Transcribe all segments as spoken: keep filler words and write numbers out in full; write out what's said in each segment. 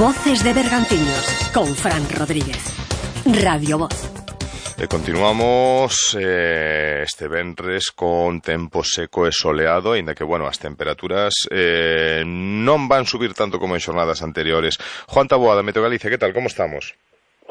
Voces de Bergantiños con Fran Rodríguez. Radio Voz. E continuamos eh, este venres con tempo seco e soleado, aínda que, bueno, as temperaturas eh, non van subir tanto como en xornadas anteriores. Juan Taboada, Meteo Galicia, que tal, como estamos?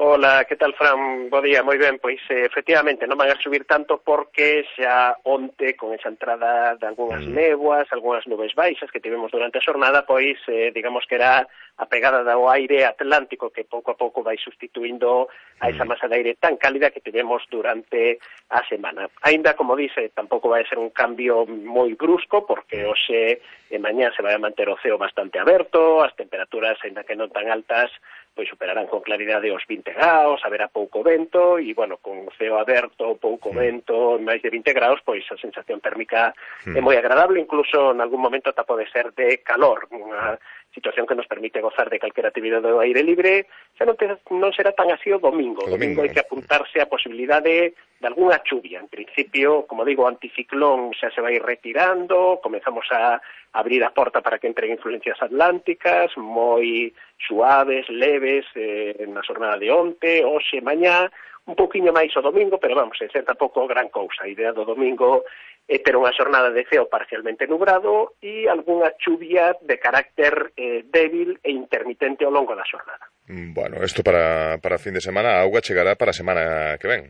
Hola, que tal, Fran? Bo día, moi ben. Pois, eh, efectivamente, non van a subir tanto porque xa onte, con esa entrada de algunhas mm. néboas, algunhas nubes baixas que tivemos durante a xornada, pois, eh, digamos que era a pegada do aire atlántico que pouco a pouco vai sustituindo a esa masa de aire tan cálida que tivemos durante a semana. Aínda, como dice, tampouco vai ser un cambio moi brusco, porque hoxe e mañá se vai a manter o ceo bastante aberto, as temperaturas, aínda que non tan altas, pois superarán con claridade os vinte graus, haberá pouco vento, e, bueno, con o ceo aberto, pouco vento, máis de vinte graus, pois a sensación térmica é moi agradable, incluso en algún momento ata pode ser de calor, unha situación que nos permite gozar de calquera actividade do aire libre. Xa non, te, non será tan así o domingo. O domingo hai que apuntarse a posibilidade de algunha chuvia. En principio, como digo, o anticiclón xa se vai retirando, comezamos a abrir a porta para que entren influencias atlánticas, moi suaves, leves, eh, na xornada de onte, hoxe, mañá, un pouquiño máis o domingo, pero vamos, en ser tampouco gran cousa. A idea do domingo é ter unha xornada de ceo parcialmente nubrado e algunha chuvia de carácter eh, débil e intermitente ao longo da xornada. Bueno, isto para, para fin de semana, a auga chegará para a semana que ven.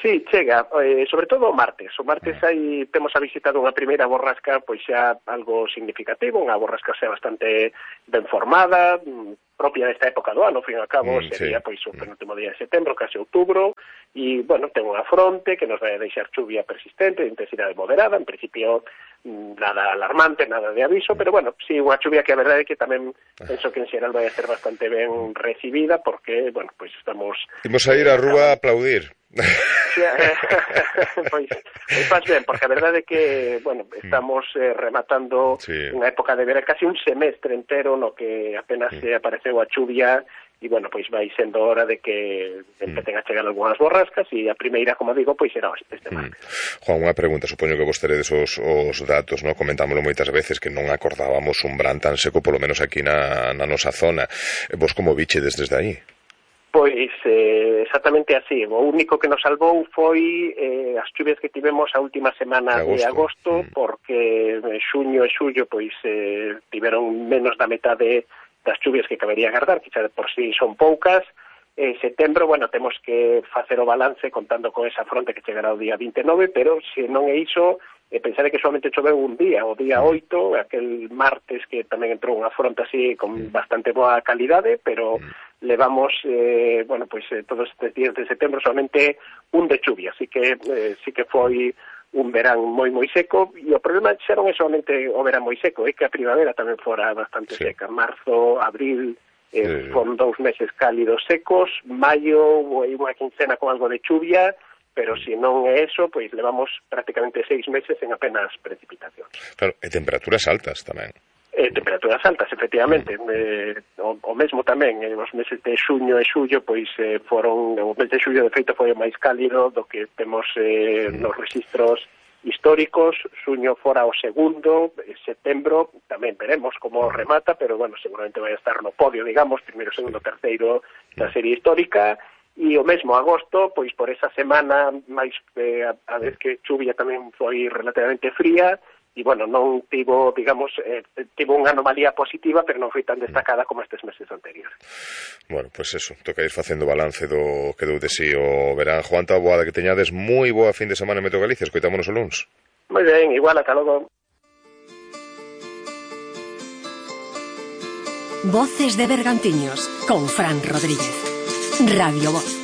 Sí, chega, eh, sobre todo o martes. O martes aí temos a visita dunha primeira borrasca, pois xa algo significativo, unha borrasca xa bastante ben formada, propia desta época do ano, ao fin e ao cabo, mm, sería sí. pois o penúltimo día de setembro, case outubro, e, bueno, ten unha fronte que nos vai a deixar chuvia persistente, de intensidade moderada, en principio nada alarmante, nada de aviso, pero, bueno, sí, unha chuvia que a verdade é que tamén penso que en xeral vai a ser bastante ben recibida, porque, bueno, pois estamos... Imos a ir á rúa a aplaudir. Sí, eh, pois, pois faz ben, porque a verdade é que, bueno, estamos eh, rematando sí. unha época de verano, casi un semestre entero no que apenas se apareceu a chuvia, e, bueno, pois vai sendo hora de que empecen a chegar algunhas borrascas, e a primeira, como digo, pois será este martes. Juan, unha pregunta, supoño que vos teredes os, os datos, ¿no? Comentámoslo moitas veces que non acordábamos un verán tan seco, polo menos aquí na, na nosa zona. Vos como bichedes desde aí? Pois eh, exactamente así. O único que nos salvou foi eh, as chuvias que tivemos a última semana de agosto, de agosto mm. porque xuño e xullo pois eh, tiveron menos da metade das chuvias que cabería agardar, que xa de por sí son poucas. En setembro, bueno, temos que facer o balance contando con esa fronte que chegará o día vinte e nove, pero se non é iso, eh, pensaré que solamente choveu un día, o día oito, aquel martes que tamén entrou unha fronte así con bastante boa calidade, pero levamos, eh, bueno, pois eh, todos estes días de setembro solamente un de chuvia, así que eh, sí que foi un verán moi moi seco, e o problema xa non é solamente o verán moi seco, é que a primavera tamén fora bastante sí. seca. Marzo, abril, eh, sí. foron dous meses cálidos secos, maio, unha quincena con algo de chuvia, pero se non é eso, pois levamos prácticamente seis meses en apenas precipitacións. Claro, e temperaturas altas tamén. Eh, temperaturas altas, efectivamente. Mm. Eh, o, o mesmo tamén, eh, os meses de xuño e xullo, pois eh, foron, o mes de xullo de feito foi o máis cálido do que temos eh, mm. nos registros históricos. Xuño fora o segundo, eh, setembro tamén veremos como remata, pero, bueno, seguramente vai estar no podio, digamos, primeiro, segundo, terceiro da serie histórica. E o mesmo agosto, pois por esa semana máis eh, a, a vez que chuvia tamén foi relativamente fría, e, bueno, non tivo, digamos, eh, tivo unha anomalía positiva, pero non foi tan destacada como estes meses anteriores. Bueno, pois pues eso, toca ir facendo balance do que dou de si o verán. Juan Taboada, que teñades moi boa fin de semana en Meteo Galicia, escoitámonos o luns. Moi ben, igual, ata logo. Voces de Bergantiños con Fran Rodríguez. Radio Voz.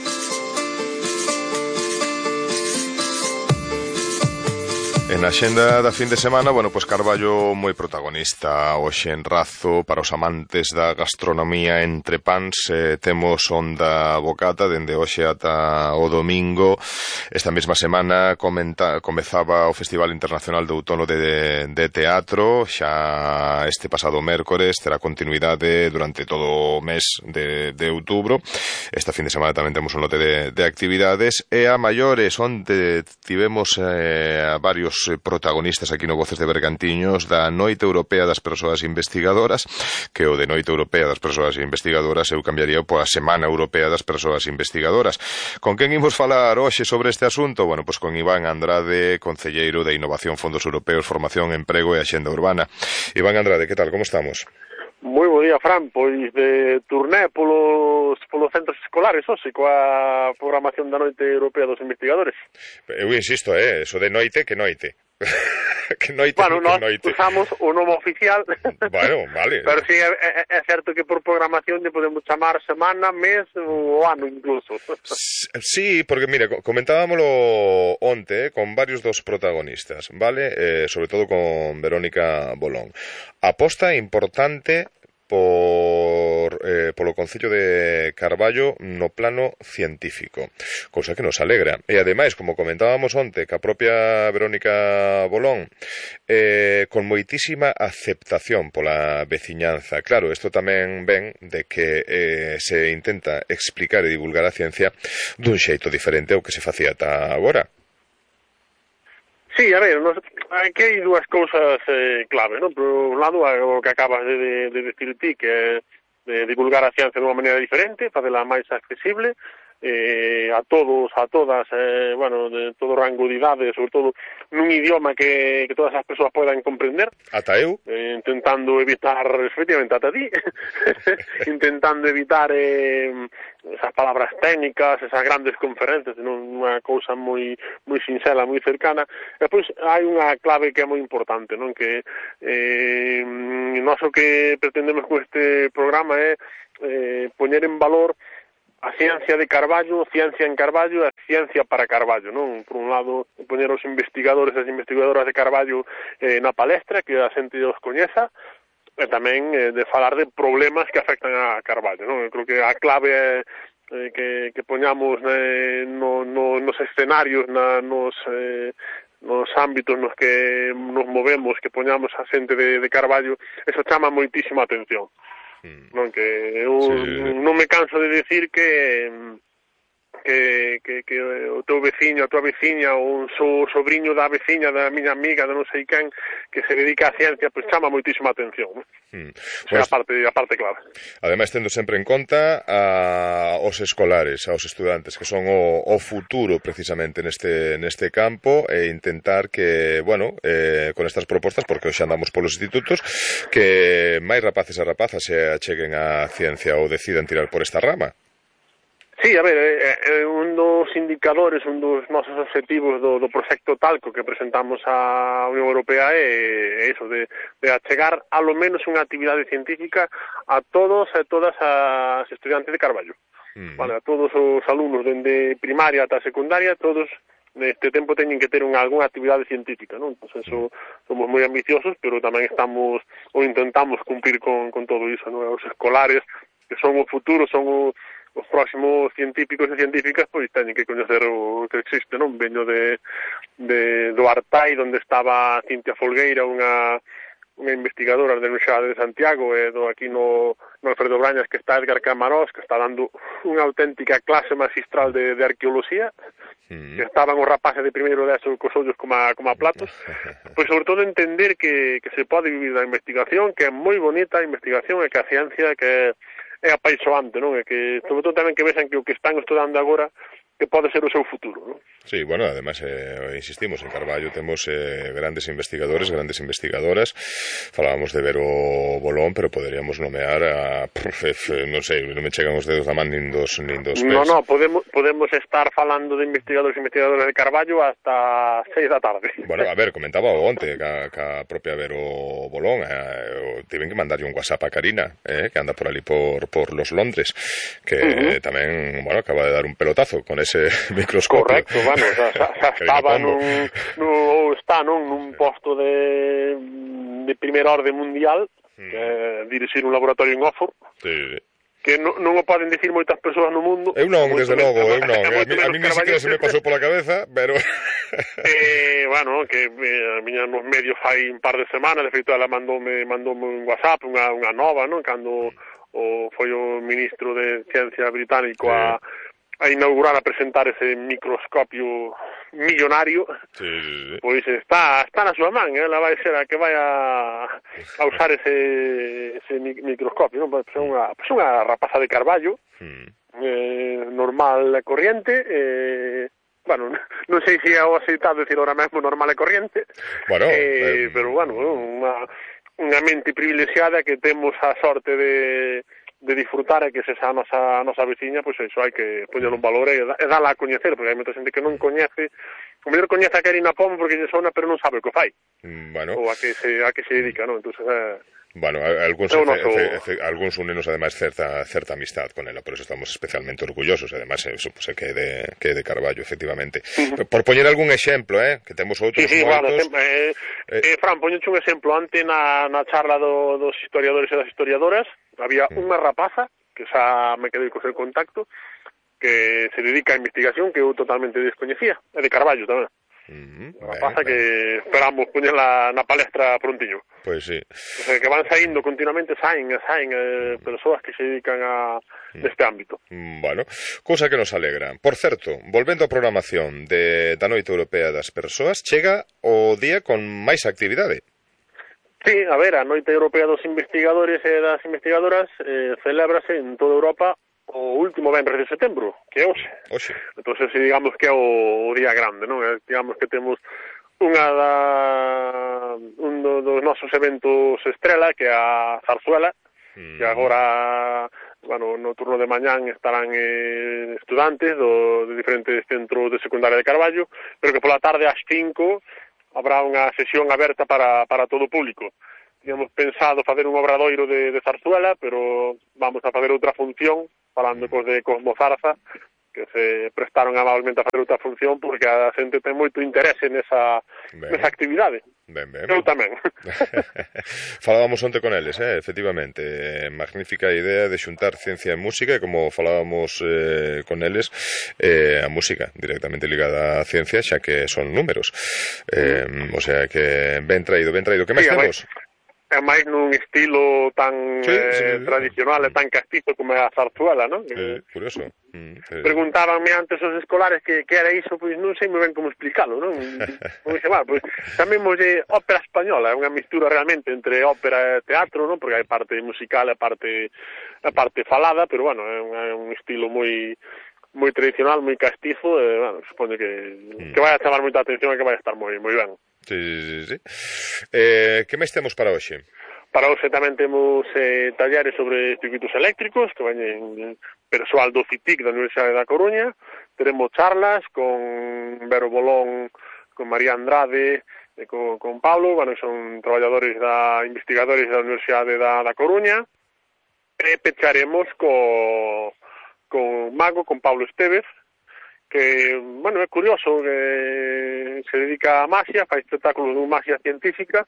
En a xenda da fin de semana, bueno, pois Carballo moi protagonista hoxe en Razo. Para os amantes da gastronomía entre pans, eh, temos Onda Bocata dende hoxe ata o domingo. Esta mesma semana comenta, comezaba o Festival Internacional de Outono de, de Teatro. Xa este pasado mércores terá continuidade durante todo o mes de, de outubro. Esta fin de semana tamén temos un lote de, de actividades. E a maiores, onde tivemos eh, varios os protagonistas aquí no Voces de Bergantiños da Noite Europea das Persoas Investigadoras, que o de Noite Europea das Persoas Investigadoras eu cambiaría pola Semana Europea das Persoas Investigadoras. Con quen imos falar hoxe sobre este asunto? Bueno, pois con Iván Andrade, concelleiro de Innovación, Fondos Europeos, Formación, Emprego e Axenda Urbana. Iván Andrade, que tal, como estamos? Moi bo día, Fran, pois de turné polos, polos centros escolares, hoxe, coa programación da Noite Europea dos Investigadores. Eu insisto, eh, eso de noite, que noite. que noite, bueno, que noite. Usamos o nome oficial. Bueno, vale. Pero sí, é, é, é certo que por programación lle podemos chamar semana, mes ou ano incluso. Sí, porque, mire, comentábamolo onte, eh, con varios dos protagonistas, vale? Eh, sobre todo con Verónica Bolón. Aposta importante por eh, polo Concello de Carballo no plano científico, cousa que nos alegra. E ademais, como comentábamos onte, que a propia Verónica Bolón eh, con moitísima aceptación pola veciñanza. Claro, isto tamén ven de que eh, se intenta explicar e divulgar a ciencia dun xeito diferente ao que se facía ata agora. Sí, a ver, nos, aquí hai dúas cousas eh, clave, non? Por un lado, o que acabas de, de, de decir ti, que é de divulgar a ciencia de unha maneira diferente, facela máis accesible, eh, a todos, a todas, eh, bueno, de todo rango de idade, sobre todo nun idioma que, que todas as persoas podan comprender. Ata eu. Eh, intentando evitar, efectivamente, ata ti, intentando evitar eh, esas palabras técnicas, esas grandes conferencias, non unha cousa moi moi sinxela, moi cercana. E pois hai unha clave que é moi importante, non? Que eh, nós o que pretendemos con este programa é eh, poñer en valor a ciencia de Carballo, ciencia en Carballo e a ciencia para Carballo, non? Por un lado, poñer os investigadores e as investigadoras de Carballo eh, na palestra, que a xente os coñeza, e tamén eh, de falar de problemas que afectan a Carballo, non? Eu creo que a clave é eh, que, que poñamos eh, no, no, nos escenarios, na, nos... Eh, nos ámbitos nos que nos movemos, que poñamos a xente de, de Carballo, eso chama moitísima atención. Non, que eu sí. non me canso de decir que que, que, que o teu veciño, a tua veciña ou un so, sobrinho da veciña da miña amiga, de non sei quen, que se dedica á ciencia, pois chama moitísima atención, non? Mm. Pues, a parte, a parte clave. Ademais, tendo sempre en conta a, os escolares, aos estudantes, que son o, o futuro precisamente neste, neste campo, e intentar que, bueno, eh, con estas propostas, porque hoxe andamos polos institutos, que máis rapaces e rapazas se acheguen á ciencia ou decidan tirar por esta rama. Sí, a ver, é, é un dos indicadores, un dos nosos objetivos do, do proxecto Talco que presentamos á Unión Europea é, é iso, de, de achegar a lo menos unha actividade científica a todos e todas as estudiantes de Carballo. Mm. Vale, a todos os alumnos dende primaria ata secundaria, todos neste tempo teñen que ter unha, algunha actividade científica, non? Entón, eso, somos moi ambiciosos, pero tamén estamos, ou intentamos cumplir con, con todo iso, non? Os escolares, que son o futuro, son o os próximos científicos e científicas, pois teñen que coñecer o que existe, non? Veño de, de do Artai, onde estaba Cintia Folgueira, unha unha investigadora da Universidade de Santiago, e do aquí no, no Alfredo Brañas, que está Edgar Camarós, que está dando unha auténtica clase magistral de, de arqueoloxía, mm. que estaban os rapaces de primeiro de eso cos ollos como a, como a platos, pois sobre todo entender que, que se pode vivir da investigación, que é moi bonita a investigación, e que a ciencia que é é apaixoante, non? É que, sobre todo tamén que vexan que o que están estudando agora que pode ser o seu futuro, non? Sí, bueno, además, eh, insistimos, en Carballo temos eh, grandes investigadores, grandes investigadoras. Falábamos de Vero Bolón, pero poderíamos nomear a, pff, non sei, non me chegan os dedos da man nin dos, nin dos pés. No, no, podemos, podemos estar falando de investigadores e investigadoras de Carballo hasta seis da tarde. Bueno, a ver, comentaba o onte ca, ca propia Vero Bolón, eh, tiven que mandarlle un WhatsApp a Karina, eh, que anda por ali por, por los Londres, que uh-huh. tamén, bueno, acaba de dar un pelotazo con ese microscopio. Correcto, bueno, xa, xa, xa estaba nun, nun, está non, nun posto de, de primeira orde mundial, mm. que é dirixir un laboratorio en Oxford, sí. que non, non o poden dicir moitas persoas no mundo. Eu non, desde logo, eu non. A mí, a mí ni siquiera se me pasou pola cabeza, pero... eh, bueno, que eh, a miña nos medios fai un par de semanas, de feito, ela mandoume, mandoume un WhatsApp, unha, unha nova, non? Cando o, foi o ministro de Ciencia británico sí. a... a inaugurar, a presentar ese microscopio millonario, sí, sí, sí. pois está, está na súa man, ela vai ser a que vai a, a usar ese, ese microscopio, non? Pois é unha, pois unha rapaza de carballo, mm. eh, normal e corriente, eh, bueno, non sei se é o aceitado decir ahora mesmo normal e corriente, bueno, eh, eh, pero bueno, unha, unha mente privilexiada que temos a sorte de de disfrutar e que se xa a nosa, a nosa veciña, pois iso hai que poñer un valor e, e dala a coñecer, porque hai moita xente que non coñece, o mellor coñece a Karina Pomo porque lle sona, pero non sabe o que fai, bueno. ou a que se, a que se dedica, non? Entón, eh, Bueno, algúns, no, efe, efe, efe, algúns unenos ademais certa certa amistad con ela, por eso estamos especialmente orgullosos, ademais eso, pues, que é de que é de Carballo, efectivamente. Uh-huh. Por poñer algún exemplo, eh, que temos outros sí, sí, moitos. Bueno, eh, eh, eh, Fran, poñeche un exemplo, ante na, na charla do, dos historiadores e das historiadoras, había uh-huh. unha rapaza que xa me quedei co seu contacto, que se dedica a investigación que eu totalmente descoñecía, é de Carballo tamén. Uh-huh. Unha rapaza ben, que ben. Esperamos poñela na palestra prontiño. Pois sí. O sea, que van saindo continuamente, saen e saen eh, uh-huh. persoas que se dedican a uh-huh. deste ámbito. Bueno, cousa que nos alegra. Por certo, volvendo á programación de, da Noite Europea das Persoas, chega o día con máis actividade. Sí, a ver, a Noite Europea dos Investigadores e das Investigadoras eh, celébrase en toda Europa o último venres de setembro, que é hoxe. Hoxe. Entón, digamos que é o, o día grande, non? Digamos que temos unha da un do, dos nosos eventos estrela, que é a Zarzuela, mm. que agora, bueno, no turno de mañán estarán eh, estudantes do, de diferentes centros de secundaria de Carballo, pero que pola tarde ás cinco habrá unha sesión aberta para, para todo o público. Tínhamos pensado facer un obradoiro de, de Zarzuela, pero vamos a facer outra función, falando cos de Cosmo Zarza, que se prestaron amablemente a facer outra función porque a xente ten moito interese nesa, nesa actividade. Ben, ben. Eu tamén. Falábamos onte con eles, eh, efectivamente. Magnífica idea de xuntar ciencia e música, e como falábamos eh, con eles, eh, a música directamente ligada á ciencia, xa que son números. Eh, o sea que ben traído, ben traído. Que máis sí, temos? É máis nun estilo tan sí, eh, sí, tradicional sí. e tan castizo como é a zarzuela, non? Sí, curioso. Mm, sí. Preguntábanme antes os escolares que, que era iso, pois non sei moi ben como explicalo, non? Como dixe, bueno, pois chamémoslle ópera española, é unha mistura realmente entre ópera e teatro, non? Porque hai parte musical e parte a parte falada, pero bueno, é un, é un estilo moi moi tradicional, moi castizo, e bueno, supoño que mm. que vai a chamar moita atención e que vai a estar moi moi ben. Sí, sí, sí. Eh, que máis temos para hoxe? Para hoxe tamén temos eh, talleres sobre circuitos eléctricos, que veñen persoal do C I T I C da Universidade da Coruña. Teremos charlas con Vero Bolón, con María Andrade, e con, con Pablo, bueno, son traballadores da investigadores da Universidade da, da Coruña. E pecharemos co, con Mago, con Pablo Estevez, que, bueno, é curioso que se dedica a magia, fai espectáculos de magia científica,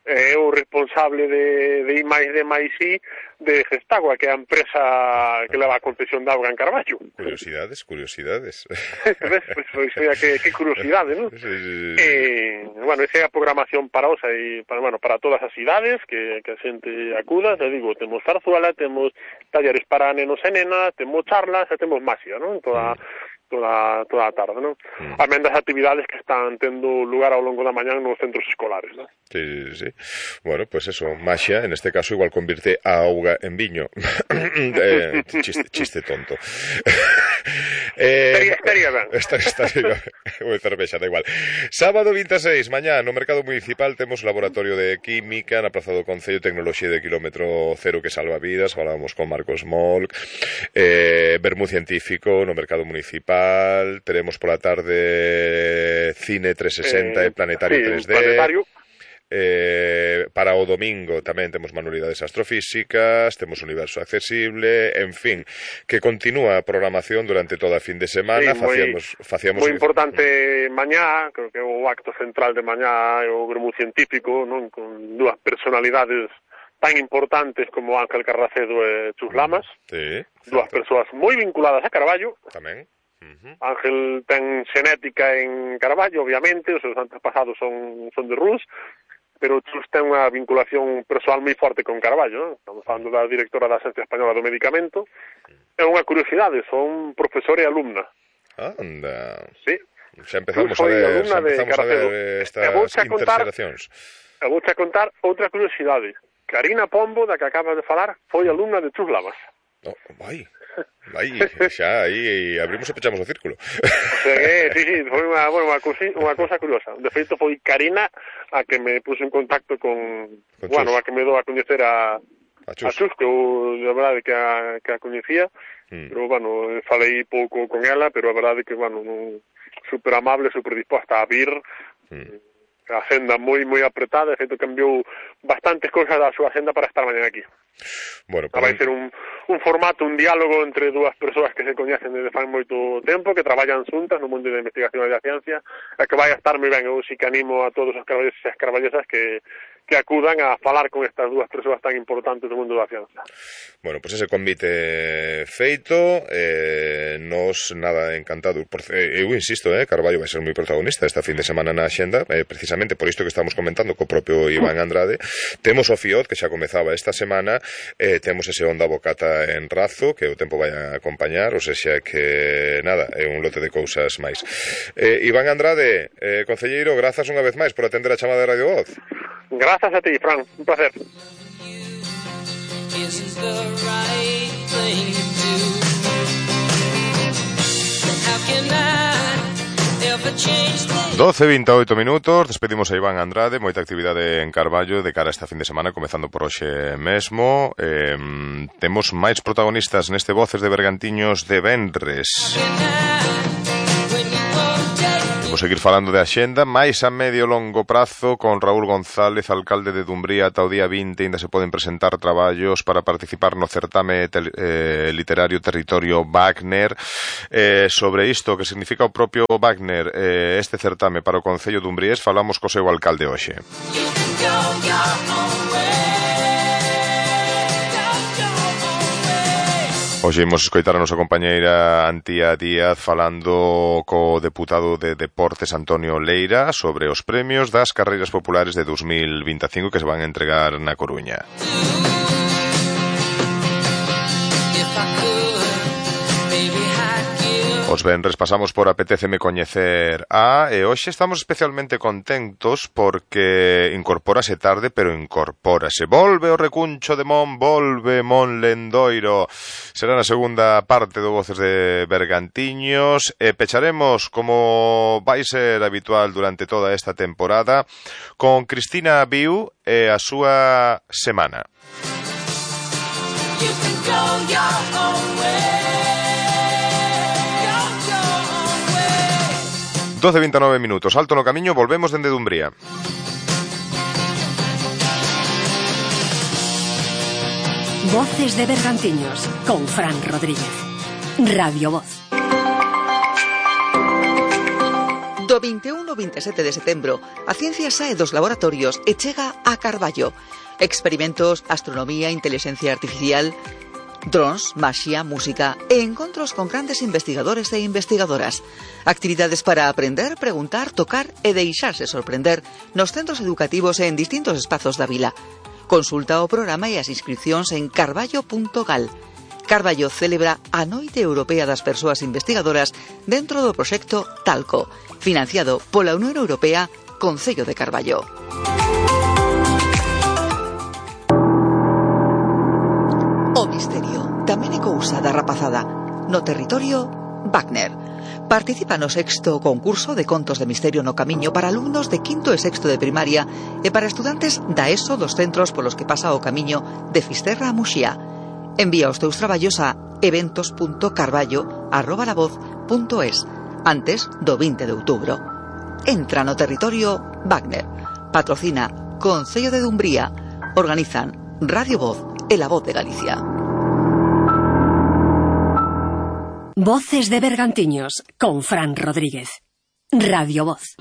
é o responsable de, de I máis D máis I de Gestagua, que é a empresa que leva a concesión de auga en Carballo. Curiosidades, curiosidades. Ves? Pues, pues, que, que curiosidade, non? Sí, sí, sí. Eh, bueno, esa é a programación para hoxe e para, bueno, para todas as idades que, que a xente acuda, te digo, temos zarzuela, temos talleres para nenos e nenas, temos charlas e temos magia, non? Toda... Mm. toda toda a tarde, non? Mm. Amén das actividades que están tendo lugar ao longo da mañán nos centros escolares, non? Sí, sí, sí. Bueno, pues eso, maxia, en este caso igual convierte a auga en viño. eh, chiste, chiste tonto. eh, estaría, estaría ben. Estaría, estaría ben. Cervexa, da igual. Sábado vinte e seis, mañá, no Mercado Municipal temos laboratorio de Química na Praza do Concello, tecnoloxía de kilómetro cero que salva vidas, falábamos con Marcos Molc, eh, Vermú Científico no Mercado Municipal, teremos pola tarde Cine trescentos sesenta e eh, Planetario sí, tres D. Planetario. Eh, para o domingo tamén temos manualidades astrofísicas, temos Universo Accesible, en fin, que continúa a programación durante toda a fin de semana. Sí, facíamos, moi, facíamos moi importante mañá, creo que o acto central de mañá é o Vermú Científico, non? Con dúas personalidades tan importantes como Ángel Carracedo e Chus Lamas, sí, dúas persoas moi vinculadas a Carballo. Tamén. Uh-huh. Ángel ten xenética en Carballo, obviamente, os seus antepasados son, son de Rus, pero Chus ten unha vinculación persoal moi forte con Carballo, non? Estamos falando da directora da Agencia Española do Medicamento. É unha curiosidade, son profesor e alumna. Anda. Sí, Xa empezamos a ver, xa empezamos a ver estas interseracións. E vou a contar outra curiosidade. Karina Pombo, da que acabas de falar, foi alumna de Chus Lamas. Oh, vai, vai, xa aí abrimos e pechamos o círculo. O sea que, sí, sí, foi unha, bueno, unha, cousa, unha cousa curiosa. De feito, foi Karina a que me puso en contacto con, con bueno, a que me dou a coñecer a, a Chus, a Chus que eu, a verdade, que a, que a coñecía, mm. pero, bueno, falei pouco con ela, pero a verdade que, bueno, non, super amable, super disposta a vir, mm. A agenda moi moi apretada, de feito cambiou bastantes cousas da súa agenda para estar mañana aquí. Bueno, para... vai ser un, un formato, un diálogo entre dúas persoas que se coñecen desde fai moito tempo, que traballan xuntas no mundo da investigación e da ciencia, e que vai a estar moi ben. Eu si que animo a todos os carballeses e as carballesas que, que acudan a falar con estas dúas persoas tan importantes do mundo da ciencia. Bueno, pois pues ese convite feito, eh, nos nada encantado. Por, eh, eu insisto, eh, Carballo vai ser moi protagonista esta fin de semana na axenda, eh, precisamente por isto que estamos comentando co propio Iván Andrade. Temos o FIOD, que xa comezaba esta semana, eh, temos ese Onda Bocata en Razo, que o tempo vai a acompañar, ou sexa que, nada, é un lote de cousas máis. Eh, Iván Andrade, eh, concelleiro, grazas unha vez máis por atender a chamada de Radio Voz. Grazas a ti, Fran, un placer. doce e vinte e oito minutos, despedimos a Iván Andrade, moita actividade en Carballo de cara a esta fin de semana, comezando por hoxe mesmo. Eh, temos máis protagonistas neste Voces de Bergantiños de venres. Vou seguir falando de axenda, máis a medio longo prazo, con Raúl González, alcalde de Dumbría. Ata o día vinte ainda se poden presentar traballos para participar no certame eh, literario Territorio Wagner. Eh, sobre isto, que significa o propio Wagner, eh, este certame para o Concello Dumbriés, falamos co seu alcalde hoxe. Hoxe imos escoitar a nosa compañeira Antía Díaz falando co deputado de Deportes Antonio Leira sobre os premios das carreiras populares de dos mil vinte e cinco que se van a entregar na Coruña. Os venres pasamos por Apetéceme Coñecer a, e hoxe estamos especialmente contentos porque incorpórase tarde, pero incorpórase. Volve o recuncho de Mon, volve Mon Lendoiro. Será na segunda parte do Voces de Bergantiños e pecharemos, como vai ser habitual durante toda esta temporada, con Cristina Viu e a súa semana. You can go your own way. doce e vinte e nove minutos, alto no camiño, volvemos dende Dumbría. Voces de Bergantiños, con Fran Rodríguez. Radio Voz. Do vinte e un ao vinte e sete de setembro, a ciencia sae dos laboratorios e chega a Carballo. Experimentos, astronomía, inteligencia artificial, drons, maxia, música e encontros con grandes investigadores e investigadoras. Actividades para aprender, preguntar, tocar e deixarse sorprender nos centros educativos e en distintos espazos da vila. Consulta o programa e as inscripcións en carballo punto gal. Carballo celebra a Noite Europea das Persoas Investigadoras dentro do proxecto Talco, financiado pola Unión Europea, Concello de Carballo. O misterio tamén é cousa da rapazada. No territorio Wagner. Participa no sexto concurso de contos de misterio no camiño para alumnos de quinto e sexto de primaria e para estudantes da ESO dos centros polos que pasa o camiño de Fisterra a Muxía. Envía os teus traballos a eventos punto carballo arroba la voz punto es antes do vinte de outubro. Entra no territorio Wagner. Patrocina Concello de Dumbría. Organizan Radio Voz e La Voz de Galicia. Voces de Bergantiños, con Fran Rodríguez. Radio Voz.